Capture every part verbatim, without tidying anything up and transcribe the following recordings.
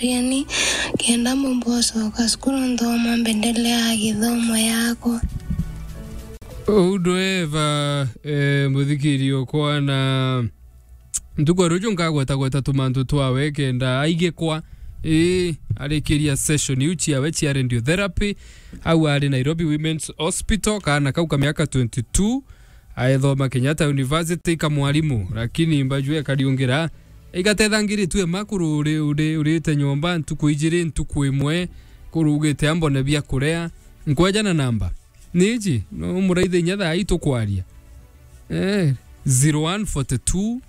Riani, kenda mumbocoka cukuru nthoma mbendeleaga githomo yakwa. Uu ndweva, eh, muthikiri okwa na ntuku ya ruju nkagwetagweta tumantu twawe kenda aigikwa, ii, arikiria session iu ciawe cia radiotherapy, au ari Nairobi Women's Hospital, kaana kau ka miaka twenty-two, aethoma Kenyatta University ka mwarimu, lakini mbaju ekariungira, igatethangiritue ma kuru uri, uri, urite nyomba ntuku ijiri, ntuku imwe, kuru ugite ambone bia kuria, nkwejana namba. Niji, no muraithe inya thaa ii tukwaria. Eh, zero one forty-two,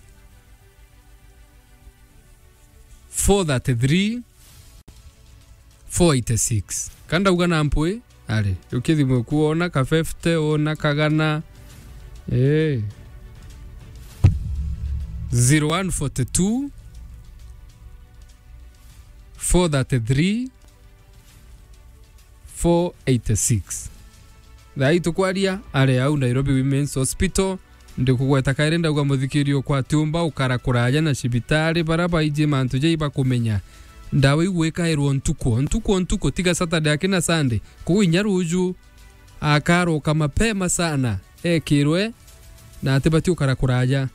four thirty-three, four eighty-six. Ka ndauga na mpwi, ari, ukithimwe ku wona ka fifty, wona kagana. Eh. Zero one forty-two, four thirty-three, four eighty-six. Thaa ii tukwaria, ari au Nairobi Women's Hospital, ndikugweta kairi ndauga muthikiri okwa atiumba ukara kuraja na cibitari, bara baiji mantu jai bakumenya. Ndawa igwikairwo ntuku, ntuku, ntuku, tiga Saturday akina Sunday, kuu inya ruju, akaroka mapema sana, ekirwe, na atibati ukara kuraja.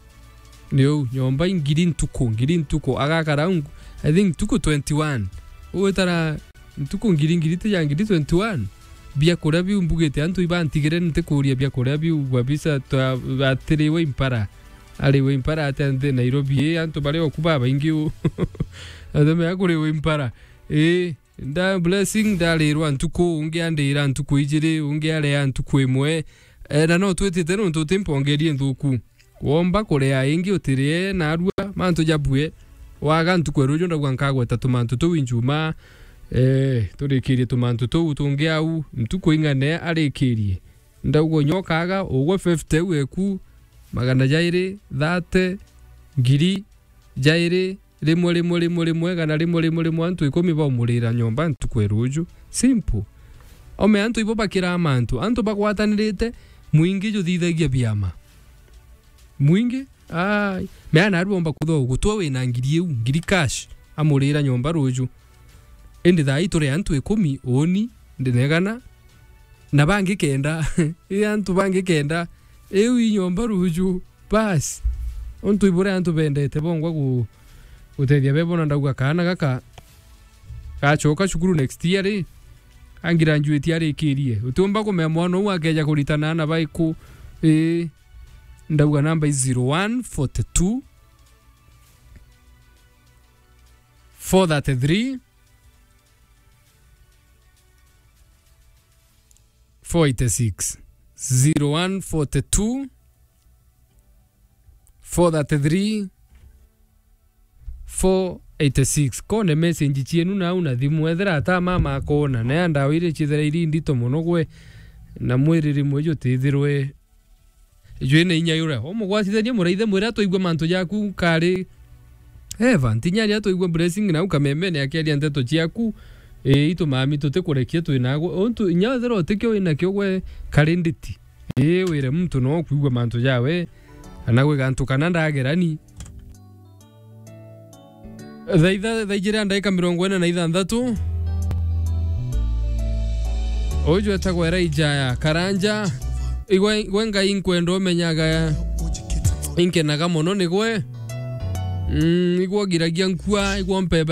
Ni uu, nyomba ingiri ntuku, ngiri ntuku, agakara ung-, I think ntuku twenty-one. Ugwitara ntuku ngiri, ngiri ti ya ngiri twenty-one. Biakuria biu mbugite antu ibantigire, ntikuria biakuria biu kabisa, twa-, atiriwe impara. Ariwe impara atia nthi Nairobi ii, antu bari oku babaingi uu. Atemea kuriwe impara. Ii, nda blessing ndarirwa ntuku, ungi andira ntuku ijiri, ungi aria ntuku imwe. Eh, na no twitite nontu utimpongerie nthuku. Womba kuria ingi utirie, narua mantu jabue. Waga ntuku ya ruju ndauga nkagweta tumantu tuu injuma. Eh, turikirie tumantu tuu tungi au, ntuku ing'ane arikirie. Ndauga nyokaga, ugwe fifty au eku, magana jairi, thirty, ngiri, jairi, rimwe, rimwe, rimwe, rimwe, kana rimwe, rimwe, rimwe, antu ikumi baumurira nyomba ntuku ya ruju. Simple. Ome antu ibo bakiraa mantu. Antu bagwatanirite, mwingi juthithagia biama. Mwingi, ai, mea narua omba kuthwa gutwa wina ngiri iu, ngiri cash, amurira nyomba ruju. Indi thaa ii turi antu ikumi, uuni, ndinegana, na bangi kenda. Ii antu bangi kenda, iu i nyomba ruju. Bas. Untu ibure antu bendete bongwa gu-, gutethia bebo, na ndauga kaana gaka gacoka cukuru next year ri, angiranjuitie arikirie. Utiumba kumea mwana uu akeja kuritana na baiku. Ii, ndauga namba i zero one forty-two, four thirty-three, four eighty-six. Zero one forty-two, four thirty-three, four eighty-six. Kone message cienu nau na thimu, ethira ata mama akona, na ya ndawa iria ciithira iri ndito mono gwe, na mwiri rimwe jutithirwe jwina inya yuria. Umugwacithanie muraithe, mwire atwaigua mantu jaku kari. Eva, ntinya aria atwaigua Blessing nau kamemene akiaria nteto ciaku, ii, itumami tutikurekia twinagwe. Untu inya ethira utikio winakio gwe kari nditi. Ii, wire muntu no kwigua mantu jawe, kana gwi gantu kana ndagerani. Thaa itha-, thaa ijiri na ndagika mirongo ina na ithanthatu. Uju etagwa Elijah Karanja. Igwe, igwe Ngai nkwenda umenyaga, inkenaga mono nigwe. Mm, igwe ngiragia nkua, igwe mpeba